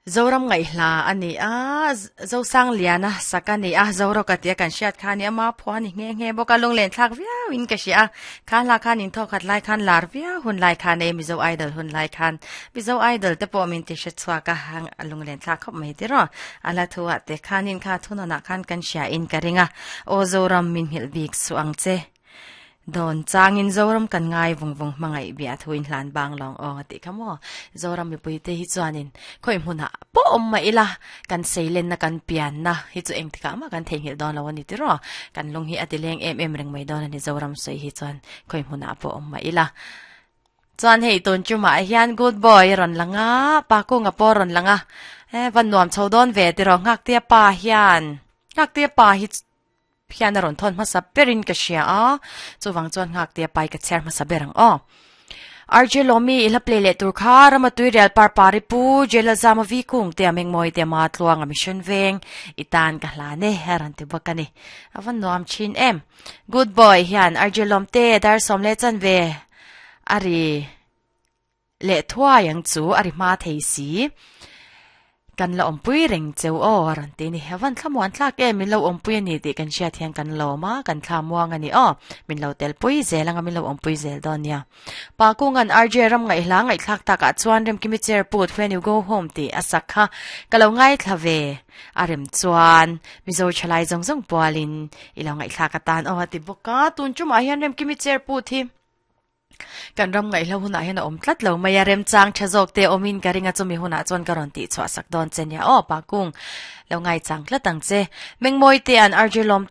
Zoram ngaihhla a ni a, Zosangliana sak a ni a, Zoroka tia kan hriat kha a ni a, Maphuah a ni nghe nghe bawk a, lunglen thlak viau in ka hria a, kha hla khan in thawkhat lai khan lar viau hun lai khan e, Mizo Idol hun lai khan Mizo Idol te pawh min ti hre chhuak a, a lunglen thlak khawp mai tiraw, a hla thu ah te khanin kha thunawn ah khan kan hria in ka ring a, Aw Zoram min nghilh bik suh ang che. Dawn changin Zoram kan ngai vung vung hmangaih bia thu in hlan bang lawng aw a tih kha maw? Zoram mipui te hi chuanin khawi hmunah pawh awm mah ila kan seilenna kan pianna hi chu engtikah mah kan theihnghilh dawn lo a ni tiraw? Kan lung hi a ti leng em em reng mai dawn a ni Zoram sawi hi chuan khawi hmunah pawh awm mah ila. Chuan hei tun chumah hian good boy a rawn lang a, pa kunga pawh a rawn lang a, e va nuam chho dawn ve tiraw Nghaktea pa hian Nghaktea pa hi Hian a rawn thawn hmasa berin ka hria a, chuvang chuan nghakte a pai ka chhiar hmasa ber ang aw. RJ Lawmi i hla play leh tur kha Rama Tuirial Parpari Pu Jela Zama Vi Kung te a Mengmawi te Ma Tluang a Mission Veng i tan ka hlan e a rawn ti bawk a ni. A va nuam thin em. Good boy hian RJ Lawmte dar sawm leh chan ve a ri. Leh thuai ang chu a ri hma thei si. Kan la awmpui reng cheu aw a rawn ti a ni. A van thlamuan thlak em min lo awmpui a ni tih kan hriat hian kan lawm a, kan thla muang a ni aw. Min lo telpui zel anga min lo awmpui zel dawn nia. Pa Kunga'n RJ ram ngaihhla ngaihthlak takah chuan Remkimi chair put When you go home tih a sak kha ka lo ngaithla ve a rem chuan Mizo thalai zawng zawng pualin i lo ngaihthlak atan aw a ti bawk a. Tun tumah hian Remkimi chair put hi Kan ram ngaihlo hunah hian a awm tlat lo mai a, remchang tha zawk te awmin ka ring a, chumi hunah chuan ka rawn tih chhuah sak dawn che nia aw, Pakung lo ngaichang tlat ang che. Mengmawi te an RJ lawm.